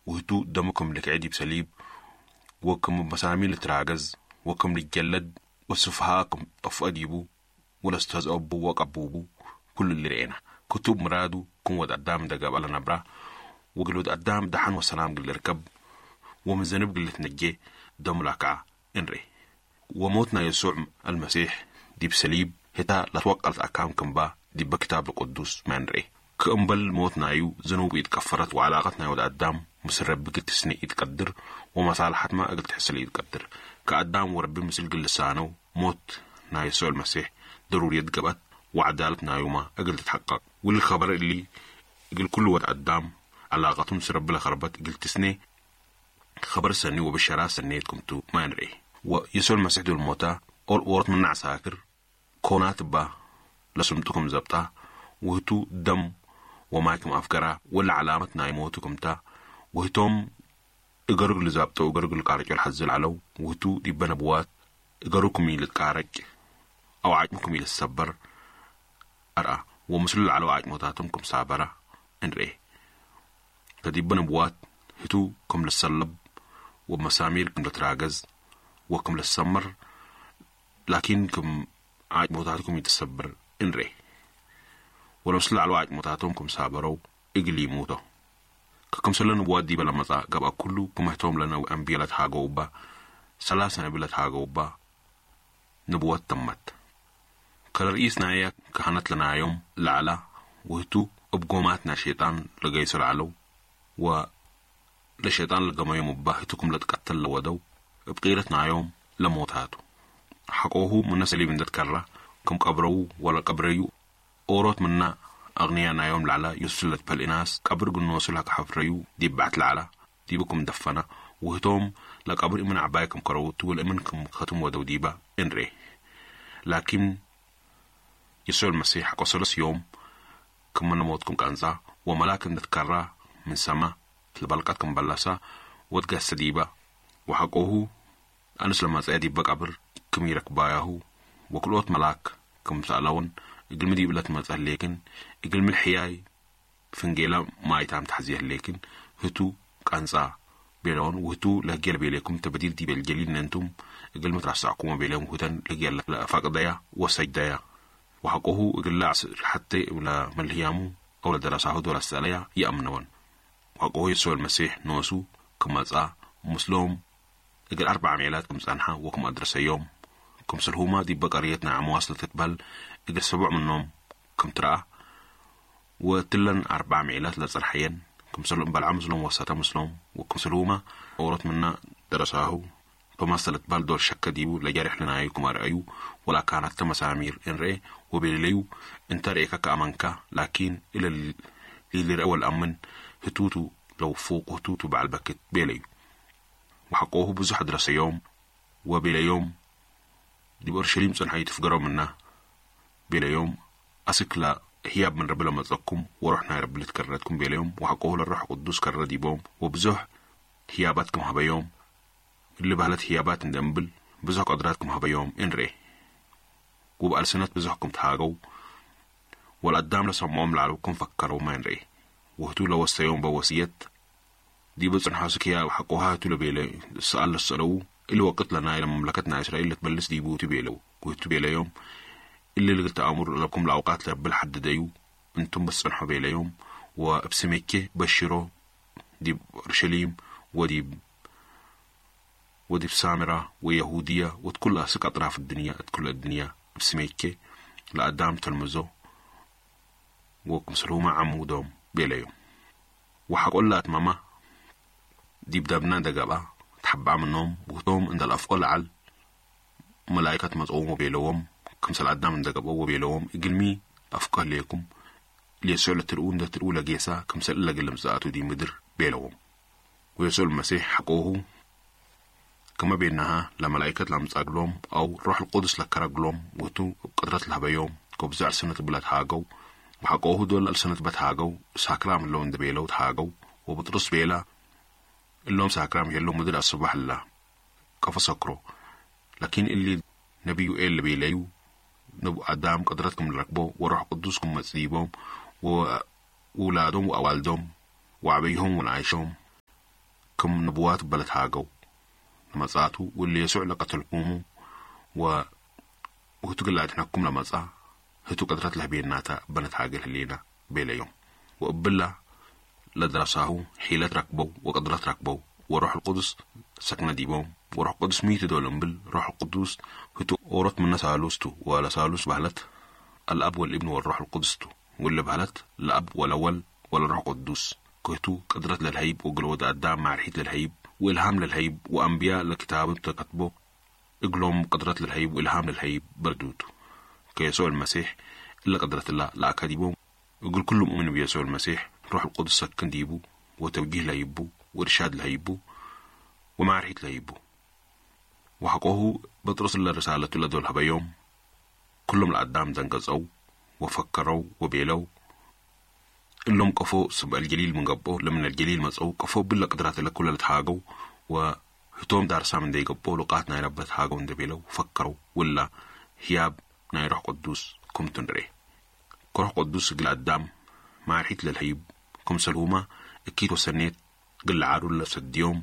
ውህቱ ደሙ ከም ልክዒ ዲብ ሰሊብ ወክም መሳሚ ልትራገዝ ወክም ልጀለድ ወስፍሃ ክም ጠፍአ ዲቡ ወለስተዝአቡ ወቀቡቡ ኩሉ ልርኤና። ክቱብ ምራዱ ክም ወድ ኣዳም ደገብአ ለነብራ ወግል ወድ ኣዳም ደሓን ወሰላም ግል ልርከብ ወምዘንብ ግል ልትነጄ ደሙ ላክዓ እንሬ። ወሞት ናይ የሱዕ ኣልመሲሕ ዲብ ሰሊብ ህታ ለትወቀልት ኣካም ክምባ ዲበ ክታብ ቅዱስ መንሬ። ክእምበል ሞት ናዩ ዝኑቡ ኢትቀፈረት ወዓላቀት ናይ ወድ ኣዳም ምስ ረቢ ግትስኒ ኢትቀድር ወመሳልሓትማ እግል ትሕስል ኢትቀድር። ከኣዳም ወረቢ ምስል ግልሳነው ሞት ናይ የሱዕ ኣልመሲሕ ደሩርየት ገብአት ወዓዳለት ናዩማ እግል ትትሐቀቅ። ውል ኸበር እሊ እግል ኩሉ ወድ ኣዳም ዓላቀቱ ምስ ረቢ ለኸርበት እግል ትስኔ ኸበር ሰኒ ወብሸራ ሰኔት ክምቱ መንሬ። ወየሱዕ ኣልመሲሕ ዱል ሞታ ኦር ኦርት ምናዕ ሳክር ኮናት እባ ለስምጡ ክም ዘብጣ ውህቱ ደም ወማይ ክም ኣፍገራ ወለ ዓላመት ናይ ሞቱ ክምታ ውህቶም እገሩ ልዛብጠው እገሩ ልቃረጮ ልሓዝል ዓለው ውህቱ ዲበ ነብዋት እገሩ ክም ኢልትቃረጭ ኣው ዓጭሙ ክም ኢልትሰበር ኣርኣ ወምስሉ ለዓለው ዓጭሞታቶም ክም ሳበራ እንርኤ። ከዲበ ነብዋት ህቱ ክም ልሰለብ ወመሳሚር ክም ልትራገዝ ወክም ልሰምር ላኪን ክም ዓጭሞታቱ ክም ይትሰብር እንሬ። ወለምስሉ ለዓለው ዓጭሞታቶም ክም ሳበረው እግል ይሙቶ። ከክምሰለ ንብወት ዲበ ለመጻ ገብአ ኩሉ ክምህቶም ለነ አንብየ ለትሃገው እባ ሰላሰ ነቢ ለትሃገው እባ ንብወት ተመት። ከለርኢስ ናየ ካህነት ለናዮም ለዓላ ውህቱ እብ ጎማት ናይ ሸይጣን ለገይሶ ለዓለው ወ ለሸይጣን ለገመዮም እባ ህቱ ክም ለትቀተል ለወደው እብ ቂረት ናዮም ለሞታቱ። ሐቆሁ ምነ ሰሊብ እንደ ትከራ ክም ቀብረው ወለቀብረዩ ኦሮት ምና ኣግንያ ናዮም ለዓላ ዮሱስ ለትበህል ኢናስ ቀብር ግኖሱ ለከሐፍረዩ ዲብ ባሕት ለዓላ ዲቡ ክም ደፈና ውህቶም ለቀብር እምን ዓባይ ክም ከረውቱ ወለእምን ክም ከትም ወደው ዲባ እንሬ። ላኪን የሱዕ መሲሕ ሐቆሰለስ ዮም ክም መነሞት ክም ቀንጻ ወመላክ እንደ ትከራ ምን ሰማ ለበልቀት ክም በላሳ ወትገሰ ዲባ ወሐቆሁ ኣንስ ለመጸአ ዲበ ቀብር ክም ይረክባያሁ ወክልኦት መላክ ክም ሰእለውን እግልሚ ዲብ ለትመጸ ህሌክን እግልሚ ልሕያይ ፍንጌላ ማይታም ተሕዝየ ህሌክን ህቱ ቀንጻ ቤለውን ውህቱ ለህጌ ለቤሌኩም ተበዲል ዲበ ልጀሊል ነንቱም እግልሚ ትራሳዕኩሞ ቤለውን ውህተን ለህጌ ለፋቅደያ ወሰጅደያ ወሐቆሁ እግል ለዓስ ሐቴ ለመልህያሙ ኣው ለደረሳሁ ዶል ኣስተእለያ ይኣምነወን። ወሐቆሁ የሱዕ መሲሕ ኖሱ ክመጻ ምስሎም እግል ኣርብዓ ሚዕላት ክም ጸንሓ ወክም ኣድረሰዮም ክምስልሁማ ዲበ ቀርየት ናይ ዓመዋስ ለትትበህል እግል ሰቡዕ ምኖም ክም ትረኣ ወእትለን ኣርብዓ ሚዕላት ለጸንሐየን ክምሰሎም በልዓ ምስሎም ወሰተ ምስሎም ወክምስልሁማ ኦሮት ምና ደረሳሁ ቶማስ ለትበህል ዶል ሸከ ዲቡ ለጀሬሕ ለናዩ ክም ኣርአዩ ወለአካናተ መሳሚር እንርኤ ወቤለለዩ እንተ ርኤከ ከኣመንካ ላኪን እለ ሊልርአ ወለአምን ህቱቱ ለውፉቅ ህቱቱ በዓል በክት ቤለዩ። ወሐቆሁ ብዙሕ ኣድረሰዮም ወቤለዮም ዲብ ኦርሸሊም ጽንሐዩ ትፍገሮምና ቤለዮም። ኣስክላ ህያብ ምን ረቢ ለመጸኩም ወሮሕ ናይ ረቢ ልትከረትኩም ቤለዮም። ወሐቆሁ ለሮሕ ቅዱስ ከረ ዲቦም ወብዙሕ ህያባት ክም ሀበዮም እሊ ባህለት ህያባት እንደ እምብል ብዙሕ ቀድራት ክም ሀበዮም እንሬ። ውብ ኣልስነት ብዙሕ ክም ተሃገው ወለአዳም ለሰምዖም ለዓለው ክም ፈከረውማ እንሬ። ወህቱ ለወሰዮም በወስየት ዲበ ጽንሖ ስክያ ሐቆሃ ህቱ ለቤለ ሰኣል ለሰለው እሊ ወቅት ለናይ ለመምለከት ናይ እስራኤል ለትበልስ ዲቡ ህቱ ቤለው። ወህቱ ቤለዮም እሊ ልግል ተኣምሩ ለኩም ለአውቃት ለብል ሐድደዩ እንቱም በስ ጽንሖ ቤለዮም ወእብ ስሜኬ በሽሮ ዲብ ኦርሸሊም ወዲብ ወዲብ ሳምራ ወየሁድያ ወትኩል ኣስክ ኣጥራፍ እድንያ እትኩል እድንያ እብ ስሜኬ ለአዳም ተልምዞ ወክምስልሁማ ዓሙዶም ቤለዮም። ወሐቆላ ኣትማማ ዲብ ዳብና ደገብኣ ተሐብኣ ምኖም ውህቶም እንደ ለአፍቆ ለዓል መላይከት መጸዎም ወቤለዎም ክምሰል ኣዳም እንደ ገብኦ ወቤለዎም እግልሚ ኣፍቆ ህሌኩም ሌሶ ለትርእዉ እንደ ትርእዉ ለጌሳ ክምሰል እለ ግልምጻቱ ዲ ምድር ቤለዎም። ወየሱዕ መሲሕ ሐቆሁ ከመ ቤናሃ ለመላይከት ለምጻግሎም አው ሮሕ ልቁዱስ ለከረግሎም ውህቱ እብ ቅድረት ለሀበዮም ከብዙ ዕስነት እብለ ተሃገው። ወሐቆሁ ዶል አልሰነት በተሃገው ሳክራም እለው እንደ ቤለው ተሃገው። ወብጥሩስ ቤላ እሎም ሳክራም ይሄለው ምድር አስባሕ እላ ቀፈ ሰክሮ። ላኪን እሊ ነቢ ዩኤል ለቤለዩ ነቡ አዳም ቅድረት ክም ልረክቦ ወሮሕ ቅዱስ ክም መጽዲቦም ወውላዶም ወአዋልዶም ወዐበይሆም ወለአይሾም ክም ነብዋት በለት ሃገው። ለመጻቱ ውል የሱዕ ለቀተልኩሙ ወህቱ ግላ ድሕነኩም ለመጻ ህቱ ቅድረት ለህቤናታ በነት ሃገል ህሌና ቤለዮም። ወእብላ ለድረሳሁ ሒለት ረክበው ወቅድረት ረክበው ወሮሕ ልቁዱስ ሰክነ ዲቦም። ወሮሕ ቅዱስ ሚቱ ዶል እምብል ሮሕ ቅዱስ ህቱ ኦሮት ምነ ሳሉስቱ ወለሳሉስ ባህለት አልአብ ወልእብን ወሮሕ ልቁዱስቱ። ውል ባህለት ለአብ ወለወል ወለሮሕ ቅዱስ ክህቱ ቅድረት ለልሀይብ ወግለ ወደ አዳም ማርሒት ለልሀይብ ወእልሃም ለልሀይብ ወአንብያ ለክታብም ተከትቦ እግሎም ቅድረት ለልሀይብ ወእልሃም ለልሀይብ በርዱቱ። ከየሱዕ ልመሲሕ እለ ቅድረትላ ለአካዲቦም እግል ኩሉ ሙእምን ብየሱዕ ልመሲሕ ሮሕ ልቁዱስ ሰክን ዲቡ ወተውጂህ ለይቡ ወእርሻድ ለይቡ ወማርሒት ለይቡ። ወሐቆሁ በጥሮስ እለ ርሳለቱ ለዶል ሀበዮም። ኩሎም ለአዳም ደንገጸው ወፈከረው ወቤለው እሎም ቀፎ ስብ አልጀሊል ምን ገብኦ ለምን አልጀሊል መጸው ቀፎ ብለ ቅድራት እለ ኩለ ለተሃገው ወህቶም ዳርሳም እንደ ይገብኦ ሉቃት ናይ ረበት ሃገው እንደ ቤለው ፈከረው ውላ ህያብ ናይ ሮሕ ቅዱስ ክምቱ ንርኤ። ከሮሕ ቅዱስ እግል አዳም ማርሒት ለልሀይብ ክምሰልሁማ እኪት ወሰኔት እግል ለዓሩ ለሰድዮም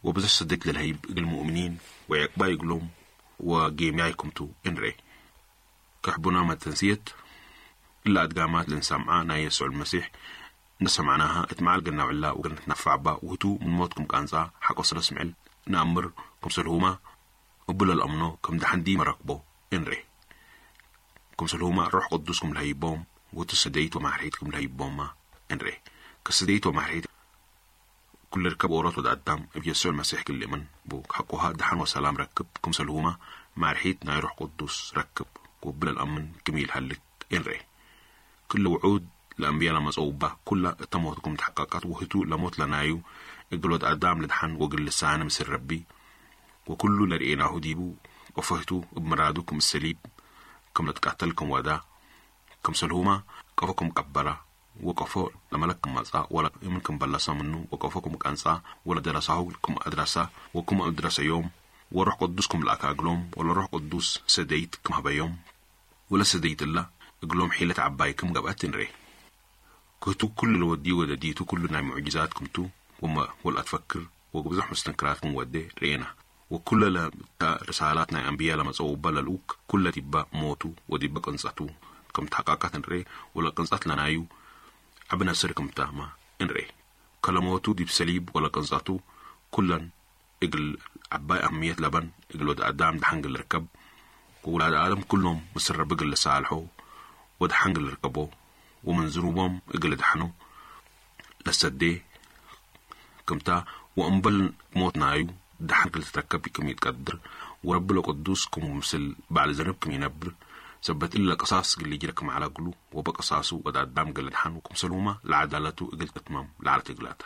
ወብዙሕ ስደት ለልሀይብ እግል ሙእምኒን ወዕቅባይ እግሎም ወጌምያይ ክምቱ እንርኤ። ከሕቡና መተንስየት እላ አድጋማት ለንሰምዓ ናይ የሱዕ ልመሲሕ እንደ ሰማዕናሃ እት መዓል ገናውዕላ ወገነት ነፋዕባ ውህቱ ምን ሞት ክም ቃንጻ ሓቆ ስለ ስምዕል ነአምር ክምሰልሁማ እቡ ለልአምኖ ከም ደሓንዲ መረክቦ እንሬ። ክምሰልሁማ ሮሕ ቅዱስ ክም ለሀይቦም ወቱ ስደይት ወማሕሪት ክም ለሀይቦማ እንሬ። ከስደይት ወማሕሪት ኩለ ርከብ ኦሮት ወደ አዳም እብ የሱዕ መሲሕ ክልእምን ቡ ሓቆሃ ደሓን ወሰላም ረክብ ክምሰልሁማ ማርሒት ናይ ሮሕ ቅዱስ ረክብ ወቡ ለልአምን ክም ኢልሃልክ እንሬ። ክለ ውዑድ ለአንብያ ለመጸው እባ ኩላ እተ ሞት ክም ተሐቀቀት ወህቱ ለሞት ለናዩ እግል ወድ አዳም ለድሓን ወግል ልሳነ ምስል ረቢ ወኩሉ ለርኤናሁ ዲቡ ወፈህቱ እብ ምራዱ ክም እሰሊብ ክም ለትቃተል ክም ወዳ ክምሰልሁማ ቀፎ ክም ቀበራ ወቀፎ ለመለክ ክም መጻ ወለ እምን ክም በለሰ ምኑ ወቀፎ ክም ቀንጻ ወለደረሳሁ ክም አድረሳ ወክም አድረሰዮም ወሮሕ ቅዱስ ክም ለአካ እግሎም ወለሮሕ ቅዱስ ሰደይት ክም ሀበዮም ወለሰደይት እላ እግሎም ሒለት ዐባይ ክም ገብአት እንሬ። ክህቱ ኩሉ ለወዲ ወደዲቱ ኩሉ ናይ ሙዕጅዛት ክምቱ ወመ ወልአትፈክር ወብዙሕ ምስትንክራት ክም ወዴ ርኤና። ወኩለ ለታ ርሳላት ናይ አንብያ ለመጸው እባ ለልኡክ ኩለ ዲባ ሞቱ ወዲባ ቅንጸቱ ክም ተሐቃቃት እንሬ ወለቅንጸት ለናዩ ዐቢ ነስር ክም ታማ እንሬ። ከለሞቱ ዲብ ሰሊብ ወለቅንጸቱ ኩለን እግል ዐባይ አህምየት ለበን እግል ወድ አዳም ደሓን እግል ልርከብ ወውላድ አደም ኩሎም ምስል ረቢ እግል ልሳልሖ ወደሓን እግል ልርከቦ ወምን ዝኑቦም እግል ልድሓኖ ለሰዴ ክምታ ወእምበል ሞት ናዩ ደሓን እግል ልትረከብ ክም ኢትቀድር ወረቢ ለቅዱስ ክም ምስል በዓል ዘንብ ክም ኢነብር ሰበት እለ ቅሳስ እግል ልጅረ ክም ዐለ እግሉ ወበቅሳሱ ወድ አዳም እግል ልድሓን ወክምሰልሁማ ለዐዳለቱ እግል ትትመም ለዐለት እግላታ።